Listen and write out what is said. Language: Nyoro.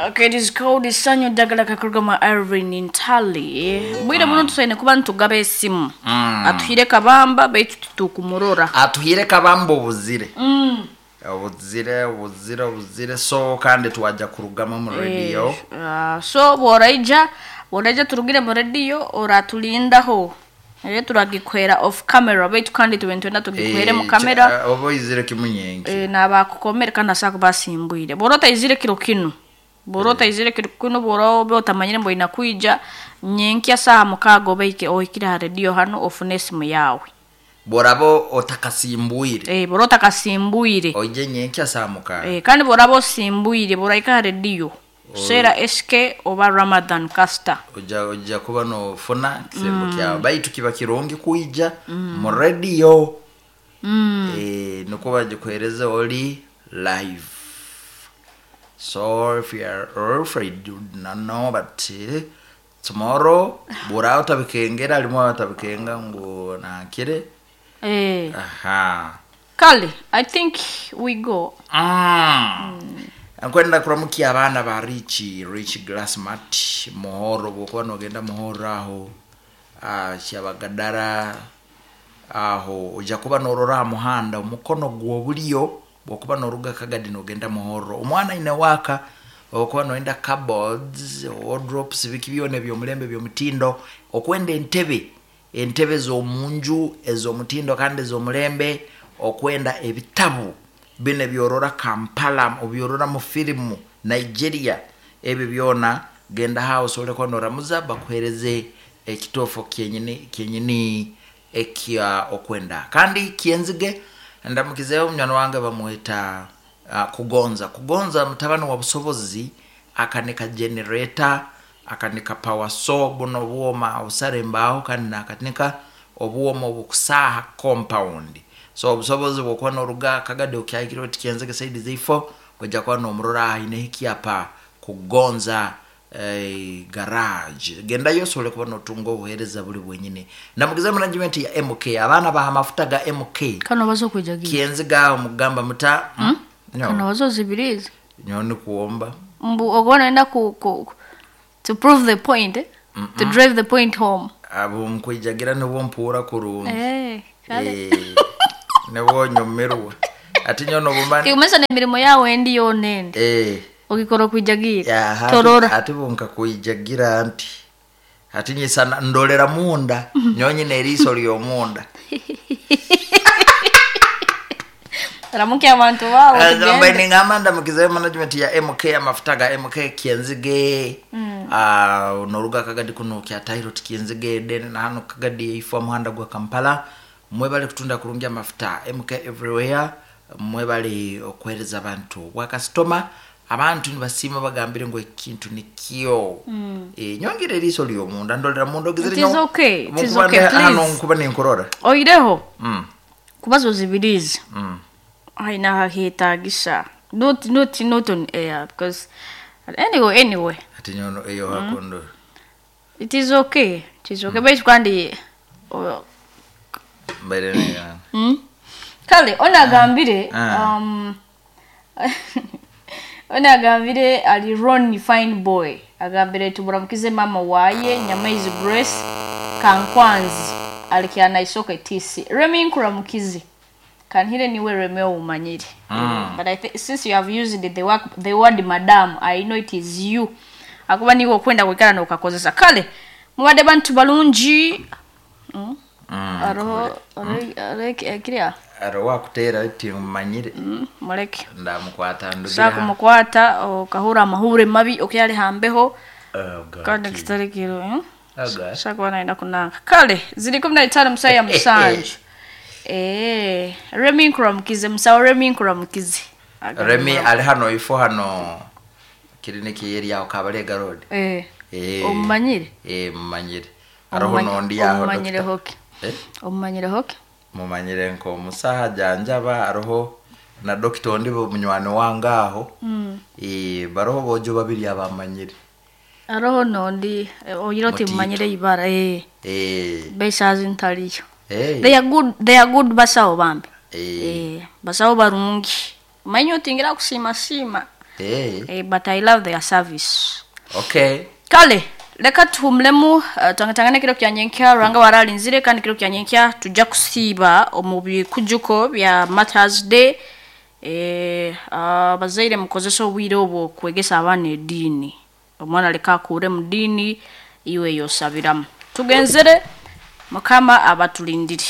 Okay, it is called Sanyu Dagala Kakurugama Irene Ntale. Bwire muno tusaine kuba nitugaba esimu. Atuhire kabamba baitu tutukumurora. Atuhire kabamba obuzire. Obuzire, obuzire, obuzire, so kandi twajja kurugama mu radio. So bworaija turugire mu radio oratulindaho. Turagikwera off camera baitu kandi tube nitwenda tugikwere mu camera. Oba oizire kimunyenki. Nabakukomere kandi asaka basimbwire. Bwora otaizire kiro kinu. Bwora otaizire kiro kinu, bwora obe otamanyire mbu oina kwija nyenkya saaha 6 obaike ohikire ha radio hano ofune esimu yawe. Bworaba otakasimbwire. Bwora otakasimbwire. Oije nyenkya saaha 6. Kandi bworaba osimbwire, bworaika ha radio. Sera SK oba Ramadan Caster. Oja kuba nofuna kisembo kyawe. Baitu kiba kirungi kuija mu radio. Nukwo bagikuhereze oli live. So if you are afraid, you do not know, but tomorrow bura utabikengera alimo atabikenga ngo nakire. Aha. Kale, I think we go. Nkwenda kuramukia abana ba Rich Glassmart Muhoro, bwokuba nogenda Muhoro aho, Kyabagadara aho ojja kuba norora muhanda omukono gw'obulyo, bwokuba noruga Kagadi nogenda Muhoro. Omwana ine waka okuba noenda cupboards, wardrobes, biki byona eby'omulembe by'omutindo, okwenda entebe z'omunju ez'omutindo kandi ez'omulembe, okwenda ebitabu bine byorora Kampala, obyorora mu filimu Nigeria, ebyo byona genda house ole kwa noramuza bakuhereze ekitofo kyenyini ekya okwenda. Kandi kienzige ndamukizeyo munywani wange bamweta Kugonza. Kugonza mutabani wa busobozi, akanika generator, akanika power saw, buno bwoma obusare mbaho, kandi nakanika obwoma obukusaha compound. So obusobozi bwokuba noruga Kagadi okyahikire oti kienzige saidi zeifo, ojja kuba nomurora aine ekyapa Kugonza garage. Gendayo osobole kuba notunga obuheereza buli bwenyini. Ndamukiza management ya MK, abaana baha amafuta ga MK. Kano bazo kwijagira. Kienziga omugamba muta. No. Kano bazo zibirizi. Nyoni kuomba. Mbu ogona enda ku to prove the point, eh? To drive the point home. Abo mkwijagira nibo mpura kurungi. Kale. Nibo nyomerwa. Ati nyono bumani. Kiumesa na mirimo yawe ndi yonende. Ogikora kwijagira. Torora. Ati bunka kwijagira anti. Ati nyisana ndolera munda. Nyonyi neriso lyo munda. Ramuke abantu bawo. Mbe ningamba ndamukize management ya MK amafuta ga MK kienzige. Noruga Kagadi kuno kya Tairo kienzige den na hano Kagadi ifo muhanda gwa Kampala. Mwebale kutunda kurungi amafuta MK everywhere. Mwebale okwereza abantu. Wa customer abantu nibasima bagambire ngo ekintu nikyo. Nyongere eriso lyo munda ndolera munda ogizire. It is okay. It is okay, please. Hano nkuba ninkorora. Oireho. Kubazo zibirizi. Haina hahitagisa. Not on air because anyway. Ati nyono eyo hakondo. It is okay. It is okay. Baitu kandi mbere ne. Kale ona gambire ona agambire ali Ronnie fine boy. Agambire tuburamukize mama waye Nyamaizi Grace Kankwanzi alikiana isoke TC. Remi nkuramukize. Kanhire niwe Romeo umanyire. But I think since you have used the word madam, I know it is you. Akuba niwe okwenda kwikara nokakozesa. Kale mubadde bantu balungi. Aro kiria. Aro wakutera ati umanyire. Muleke. Ndamukwata ndugira. Saka mukwata okahura amahure mabi okyali hambeho. Kandi kitarikiro. Saka wanaenda kunanga. Kale ziri 15 musaya musanju. Remi nkuramukize musawo Remi nkuramukize. Remi ali hano ifo hano kiriniki yeri yaho Kabalega Road. Omumanyire? Mumanyire. Aroho nondi yaho. Omumanyire hoke. Omumanyire hoke? Mumanyire nko musaha janjaba aroho na doctor ndi munywani wangaho. Baroho bojo babiri abamanyire. Aroho nondi oyiroti mumanyire ibara Besazi ntaliyo. They are good basawo bambi. Basawo barungi. Manyi otingira kusima sima. But I love their service. Okay. Kale leka tuhumulemu, twangatangana kiro kya nyenkya Ruhanga waralinzire, kandi kiro kya nyenkya tujja kusiiba omu bikujuko bya Martyrs Day. Abazaire mukozesa obwire obwo kwegesa abaana ediini. Omwana leka akure mu diini iwe yosabiramu. Tugenzere, Mukama abatulindire.